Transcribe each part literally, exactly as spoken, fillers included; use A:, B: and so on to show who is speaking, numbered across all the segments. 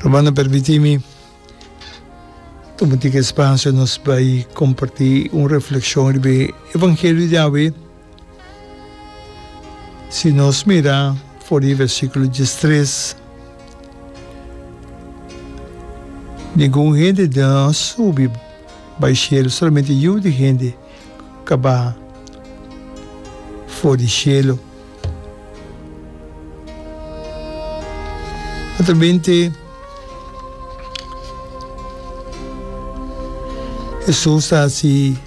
A: Rumannan permití mi tuma un tiki espasio nos bai kompartí un reflekshon riba e evangelio di awe. Si nos mira for di versíkulo diestres, Ningun hende no a subi bai shelu, solamente Yu di hende ku a baha for di shelu. Naturalmente, Hesus ta hasi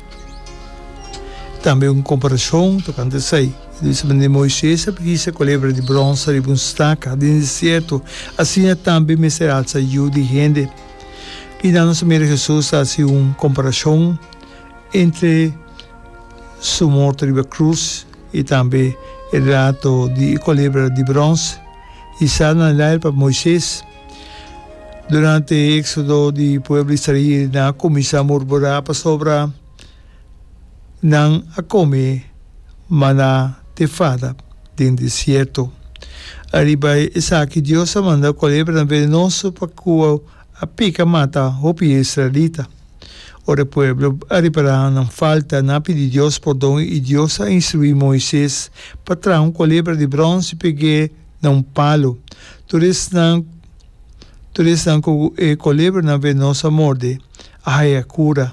A: tambe un komparashon tokante esei. E ta bisa manera Moises a hisa kolebra di bròns riba un staka den desierto, asina tambe mester alsa Yu di hende. I nan nos a mira Hesus ta hasi un komparashon entre su morto riba krus i tambe e relato di e kolebra di bròns hisá na lair pa Moises. Durante e éksodo di pueblo israel nan a kuminsá murmurá pasobra nan a kome maná te fada den desierto. Ariba esaki Dios a manda kolebranan venenoso pa ku a pika mata hopi israelita. Ora e pueblo a ripará nan falta, nan a pidi Dios pordon i Dios a instruí Moises pa traha un kolebra di bròns i peg'é na un palu. Tur esnan tur esnan ku e kolebranan venoso a morde a haña kura.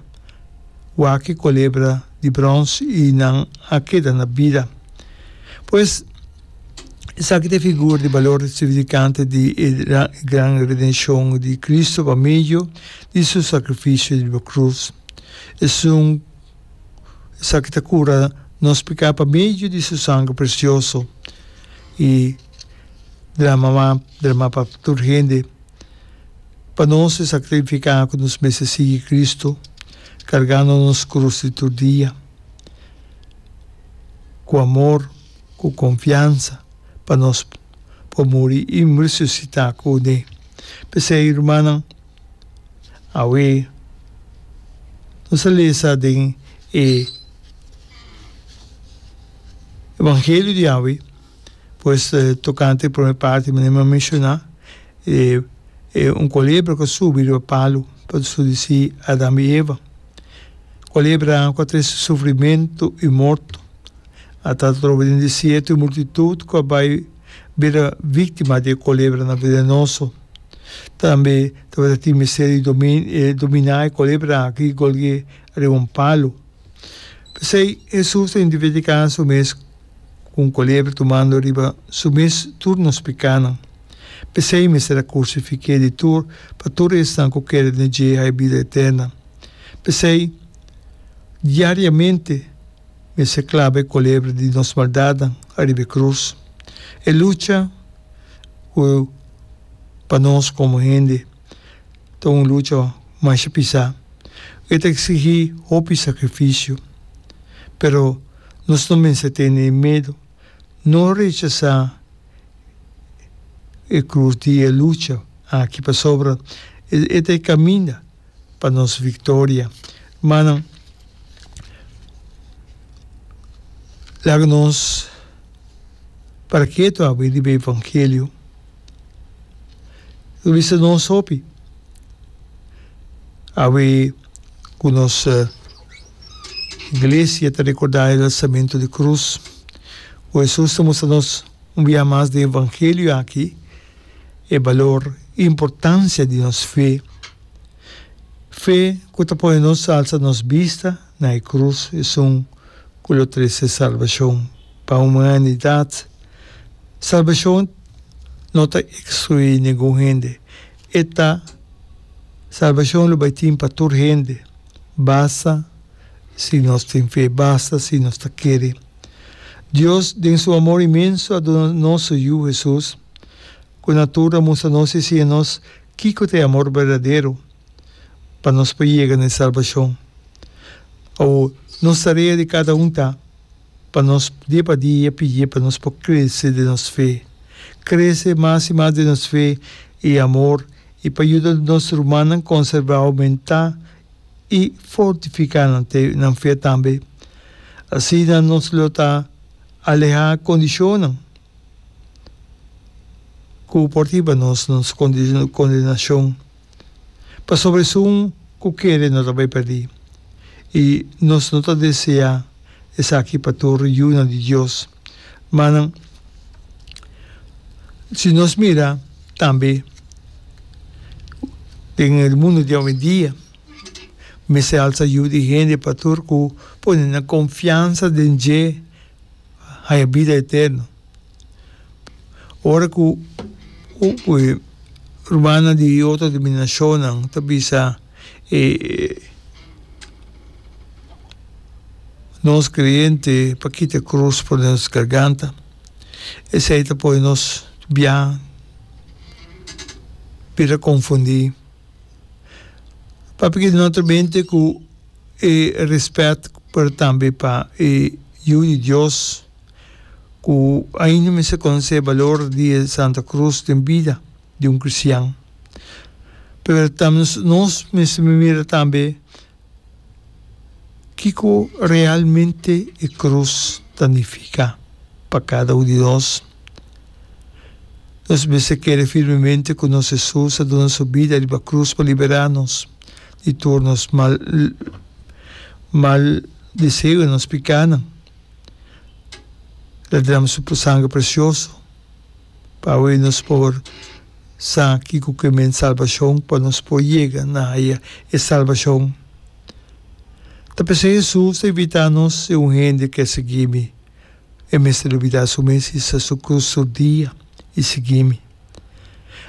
A: Wak e kolebra di bròns i nan a keda na bida. Pues, Esaki ta e figura di balor significante di e gran redenshon di Cristo pa medio di Su sacrificio riba cruz. Esun esaki ta cura nos pica pa medio di Su sangre precioso y drama drama pa tur hende. Pa nos esaki ta nifica cu nos mester sigui Cristo cargando nos cruz di tur dia cu amor. Ku konfiansa pa nos por muri i resusitá kuné. P'esei, rumannan, awe nos a lesa den e Evangelio di awe, pues tokante e promé parti manera mi a menshoná, e un kolebra ku a subi riba palu pa sedusí Adam i Eva. Kolebra ku a trese sufrimentu i morto. A ta troba den desierto e multitut ku a bai bira víktima di e kolebranan venenoso. Tambe tabata tin mester di dominá e kolebra aki i golg'é riba un palu. P'esei, Hesus ta identifiká su mes ku un kolebra tumando riba su mes tur nos pikánan. P'esei mester a krusifik'é di tur pa tur esnan ku kere den dje haña bida eterna. P'esei, diariamente, Mester klaba e kolebra di nos maldatnan ariba e krus. E lucha ku pa nos komo hende ta un lucha masha pisá. E ta eksigí hopi sakrifisio. Pero nos no mester tene medu. No rechasá e krus di e lucha aki pasobra e ta e kaminda. pa nos victoria. Hermannan, laga nos para ketu awe riba e evangelio. Lo bisa nos hopi awe ku nos iglesia ta recorda e lansamento di cruz, ku Hesus ta mustra nos un bia mas den evangelio aki e balor i importancia di nos fe. Fe ku ta pone nos alsa nos bista na e krus, esun ku lo trese salbashon pa humanidat. Salbashon no ta ekskluí ningun hende. E ta salbashon lo bai tin pa tur hende, basta si nos tin fe, basta si nos ta kere. Dios den su amor inmenso a duna nos su Yu Hesus, ku na tur a mustra nos i siña nos Kiko ta e amor berdadero pa nos por yega na e salbashon? Awor, nos tarea di kada un ta pa nos dia pa dia pidié pa nos por krese den nos fe, krese mas i mas den nos fe i amor i pa yuda nos rumannan konserbá, oumentá i fortifiká nan fe tambe. Asina nos lo ta alehá kondishonnan. Ku Ku por hiba nos na nos kondenashon. Pasobra esun ku kere no ta bai pèrdí. I nos no ta deseá esaki pa tur yunan di Dios. Manan, si nos mira tambe den e mundu di awendia, mester alsa yu di hende pa tur ku pone nan konfiansa den dje haña bida eterno. Ora ku e rumannan di otro denominashonnan ta bisa e nos kreyente pa kita e krus for di nos garganta, esei ta pone nos bia bira konfundí. Papia no solamente ku e rèspèt pero tambe pa e Yu di Dios ku ainda mester konosé e balor di e Santa Krus den bida di un kristian. Pero nos mester mira tambe kiko realmente e krus ta nifiká pa kada un di nos. Nos mester kere firmemente ku nos Hesus a duna su bida riba krus pa liberá nos di tur nos mal mal deseo, nos pikánan. El a drama su sanger presioso pa awe nos por sa kiko ke men salbashon, pa nos por yega na haya e salbashon. Ta p'esei Hesus ta invitá nos, Si un hende ke sigui mi, e mester lubidá su mes, hisa su krus tur dia i sigui mi.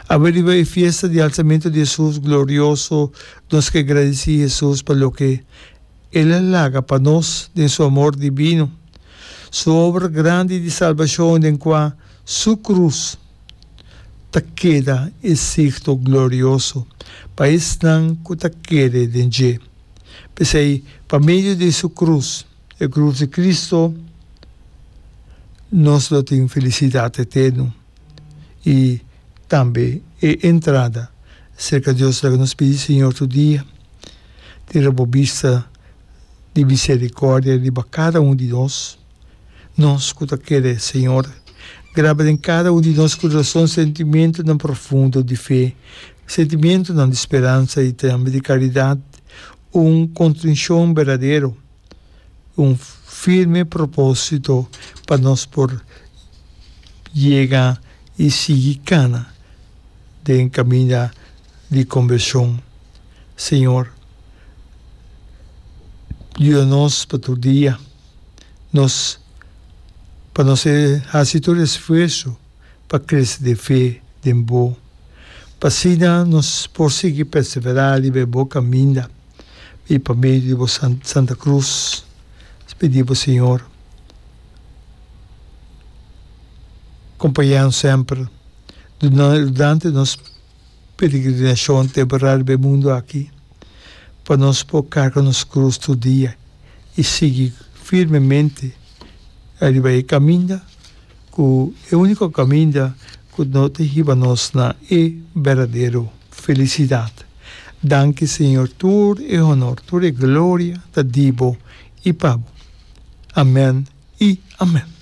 A: Awe riba e fiesta di alsamentu di Hesus glorioso, nos ke gradisí Hesus pa loke El a laga pa nos den su amor dibino, su obra grandi di salbashon den kua su krus ta keda e signo glorioso pa esnan ku ta kere den dje. P'esei, pa medio di su krus, e krus di Kristu, nos lo tin felisidat eterno i tambe e entrada serka Dios. Laga nos pidi Señor tur dia. Tira bo bista di misericordia riba cada un di nos, nos cu ta kere, Señor. Graba den cada un di nos curason sentimentonan profundo di fe, sentimentonan di speransa y tambe di caridad, un contricion berdadero, un firme proposito pa nos por yega y sigui cana den caminda di conversion. Señor, yuda nos pa tur dia nos pa nos haci tur esfuerso pa crece den fe den Bo, pa asina nos por sigui persevera riba e Bo caminda y pa medio di Bo Santa Cruz. Nos pidi Bo, Señor, compaña nos semper durante nos peregrinashon temporal riba e mundu aki, pa nos por karga nos krus tur dia i sigui firmemente riba e kaminda ku e úniko kaminda ku no ta hiba nos na e berdadero felisidat. Danki Señor, tur e honor, tur e gloria ta di bo i pa bo. Amen i amen.